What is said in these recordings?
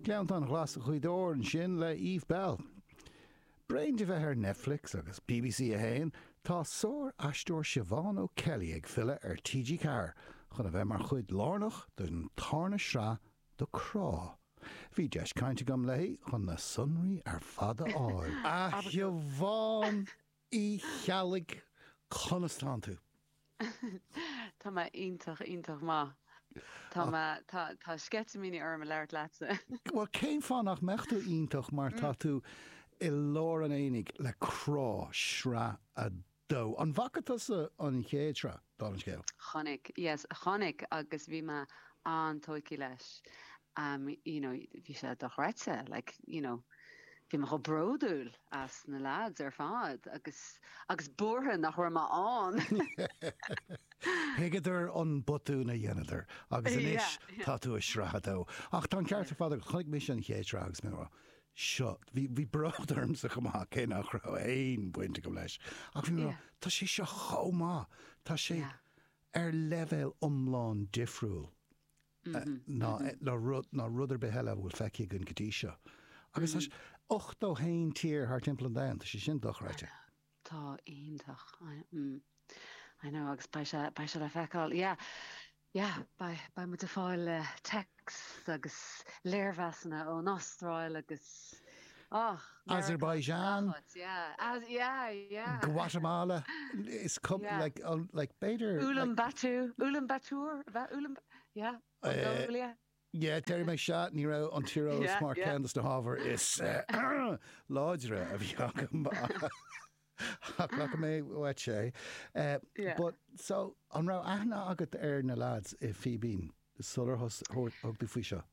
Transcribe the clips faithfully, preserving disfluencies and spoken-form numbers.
Gleanntán Ghlas Ghaoth Dobhair ansin le Eve Belle. Bréan de bheith ar Netflix agus BBC a haon, tá sár-aisteoir Siobhán O'Kelly ag filleadh ar TG Ceathair chun a bheith mar chuid lárnach den tarna sraith de Crá. Bhí deis cainte agam léi chun na sonraí ar fad a fháil. A Shiobhán Uí Cheallaigh, conas tánn tú? Tá mé iontach iontach maith. Tá mé tá tá sceitimíní orm a labhairt leatsa. Bhuel cén fáth nach mbeadh tú iontach mar tá tú i lár an aonaigh le Crá sraith a dó. An bhfaca tusa an chéad sraith, dála an scéil? Chonaic, yes, chonaic agus bhí mé an-tógtha leis. Um, you know, bhí sé dochreidte, like, you know, bhí mé chomh bródúil as na lads ar fad agus agus buartha nach raibh mé ann. Thuigeadar an botún a dhéanadar agus anois tá tú i sraith a dó. Ach tá an ceart ar fad chonaic mise an chéad sraith agus mé rá seo bhí bhí bród ormsa chomh maith cé nach raibh aon bhaint agam leis. Ach bhí mé tá sé seo chomh maith Tá sé ar leibhéal iomlán difriúil ná ná rud ná rud ar bith eile a bhfuil feicthe againn go dtí seo. Agus ochtó haon tír thar timpeall an domhain, tá sé sin dochreidte. Tá iontach. Mm. I know agus beidh sé beidh sé le feiceáil. Yeah. Yeah, beidh beidh muid ag fáil uh, text agus léirmheasanna ón Astráil agus oh, Azerbaijan, yeah, As, yeah, yeah. Guatemala is cum Yeah. like um, like b'fhéidir Ulan Batu, Ulan Bator, Ulan, yeah, Uh, Mongolia. Yeah, deir mé se ní raibh an tíreolas Yeah, mar yeah. ceann de na hábhair is uh, láidre a bhí agam ach mé uait sé. Uh, Yeah. But so an raibh aithne agat ar na lads i Fíbín sular thug tú faoi seo.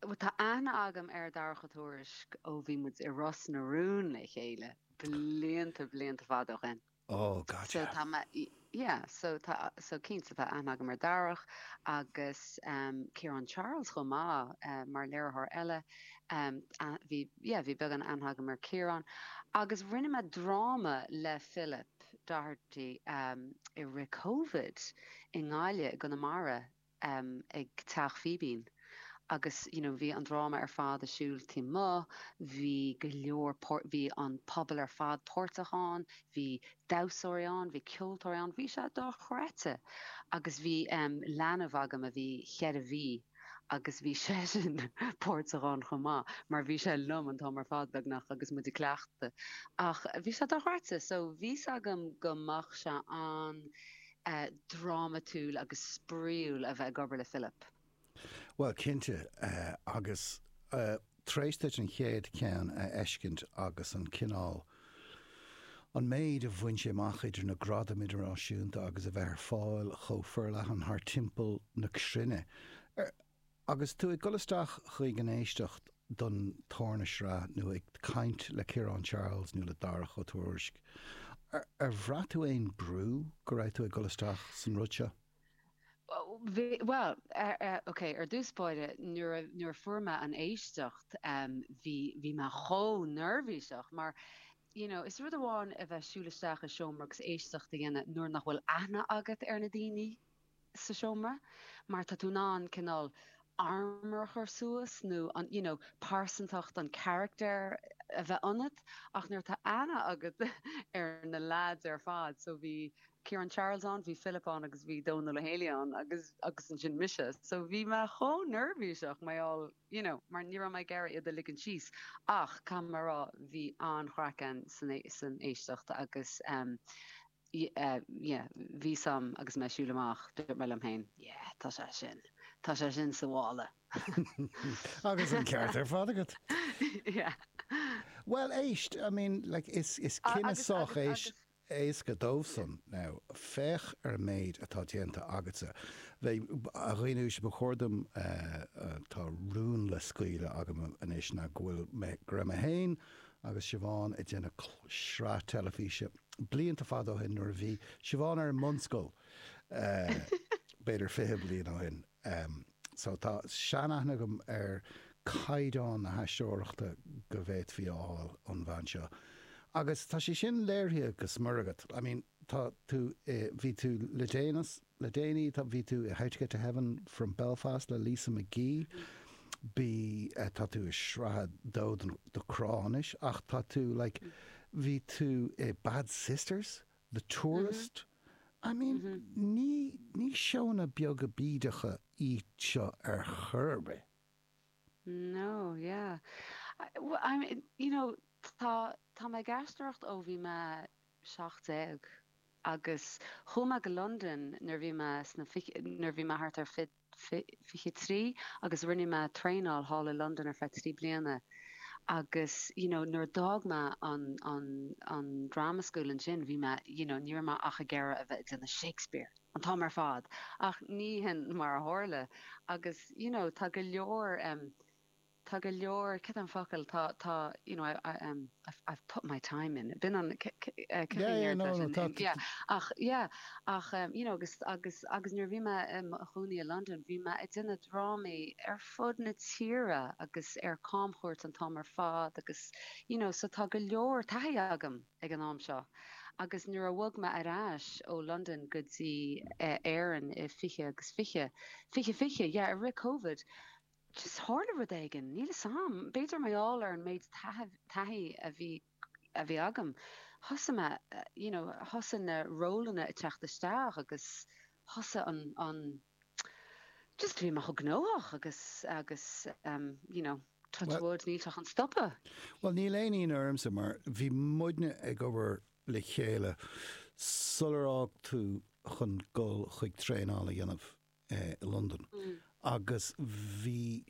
Well, tá aithne agam ar Dharach Ó Tuairisg ó bhí muid i Ros na Rún le chéile blianta blianta fada ó shin. Oh So gotcha. tá mé yeah, so tá so cinnte tá aithne agam ar Darach agus um, Ciarán Charles chomh maith uh, mar léiritheoir eile um, a- bhí yeah, bhí beagán aithne agam ar Ciarán agus rinne mé dráma le Philip Doherty um, i rith COVID i nGaillimh i gConamara um, ag Teach Fíbín. Agus you know, bhí an dráma ar fad ar siúl taobh amuigh, bhí go leor bhí an pobal ar fad páirteach ann, bhí damhsóirí ann, bhí ceoltóirí ann, bhí sé dochreidte. Agus bhí um, leanbh agam a bhí cheithre mhí agus bhí sé sin páirteach ann chomh maith, mar bhí sé liom an t-am ar fad beagnach agus muid ag cleachtadh. Ach bhí sé dochreidte, so bhí agam go mbeadh sé an uh, drámatúil agus spraíúil a bheith ag obair le Philip. Well cinnte uh, agus uh, tar éis duit an chéad cheann a fheiscint agus an cineál an méid a bhain sé amach idir na gradaim idirnáisiúnta agus a bheith ar fáil chomh forleathan thar timpeall na cruinne. Er, agus tú ag dul isteach chuig an éisteacht don tarna sraith nó ag caint le Ciarán Charles nó le Darach Ó Tuairisg. Ar, ar bhraith tú aon brú go raibh tú ag dul isteach san rud seo? Bhí- Well, uh, uh, okay, ar dtús báire nuair a- nuair a fuair mé an éisteacht um, bhí bhí mé chomh neirbhíseach mar you know, is rud amháin a bheith siúl isteach i seomra agus éisteacht a dhéanamh nuair nach bhfuil aithne agat ar na daoine sa seomra, mar tá tú in ann cineál armor a chur suas nó an you know, pearsantacht an character a bheith ionat ach nuair tá aithne agat ar na lads ar fad, so bhí Ciarán Charles ann, bhí Philip ann agus bhí Donal Healy ann agus agus ansin mise. So bhí mé chomh neirbhíseach mar all you know, mar ní raibh mé ag iarraidh iad a ligean síos ach caithfidh mé rá bhí an-chraic ann san é- san éisteacht agus um, y- uh, yeah, bhí sam agus mé siúl amach dúirt mé liom féin, yeah, tá sé sin. Tá sé sin sa mhála. Agus an ceart ar fad agat. yeah. Well éist, I mean, like, is, is A- cinneadh agus- sách agus- éis agus- éasca dósan now féach ar an méid atá déanta agatsa. Bheith a dhaoine ba chóir dom tá rún le scaoileadh agam anois ná go bhfuil mé go raibh mé féin agus Siobhán ag déanamh sraith teilifíse blianta fada ó shin nuair a bhí Siobhán ar an mbunscoil b'fhéidir fiche bliain ó shin. Um, so tá seanaithne agam ar caighdeán na haisteoireachta go bhféadfaí a fháil ón bhean seo. Agus tá sé sin léirithe go smior agat. I mean, tá tú eh, bhí tú le déanas le déanaí tá bhí tú i How to Get to Heaven from Belfast le Lisa McGee. Bí tá tú i sraith dó de Cránis ach tá tú like, bhí tú i Bad Sisters, The Tourist. Mm -hmm. I mean mm -hmm. ní ní seónna beaga bídeacha iad seo ar chor ar bith. No, yeah. I, well, I mean, you know, tá tá mé ag aisteoireacht ó bhí mé seacht déag agus chuaigh mé go London nuair bhí mé sna nuair bhí mé thart ar fiche trí agus rinne mé traenáil thall i London ar feadh trí bliana agus you know nuair d'fhág mé an an an drama school ansin bhí mé you know ní raibh mé ach ag iarraidh a bheith ag déanamh Shakespeare an t-am ar fad ach ní hin mar a tharla agus you know tá go leor um, tá go leor cad an focal tá tá you know I, I, um, I've, I've put my time in bin an ach yeah ach um, you know agus agus agus nuair bhí mé i mo chónaí i London bhí mé ag déanamh drámaí ar fud na tíre agus ar camchuairt an t-am ar fad agus you know so tá go leor taithí agam ag an am seo. Agus nuair a bhog mé ar ais ó London go dtí uh, Éirinn i fiche agus fiche fiche fiche yeah, i rith COVID just tharla rud éigin níl a fhios agam b'fhéidir mar gheall ar an méid taithí a bhí a bhí agam thosaigh mé you know thosaigh na rólanna ag teacht isteach agus thosaigh an an just bhí mé chomh gnóthach agus agus um, you know touch wood níl sé chun stopadh. Well níl aon ionadh ormsa mar bhí muidne ag obair le chéile sular fhág tú chun dul chuig traenáil a dhéanamh eh, i London. Mm. Agus bhí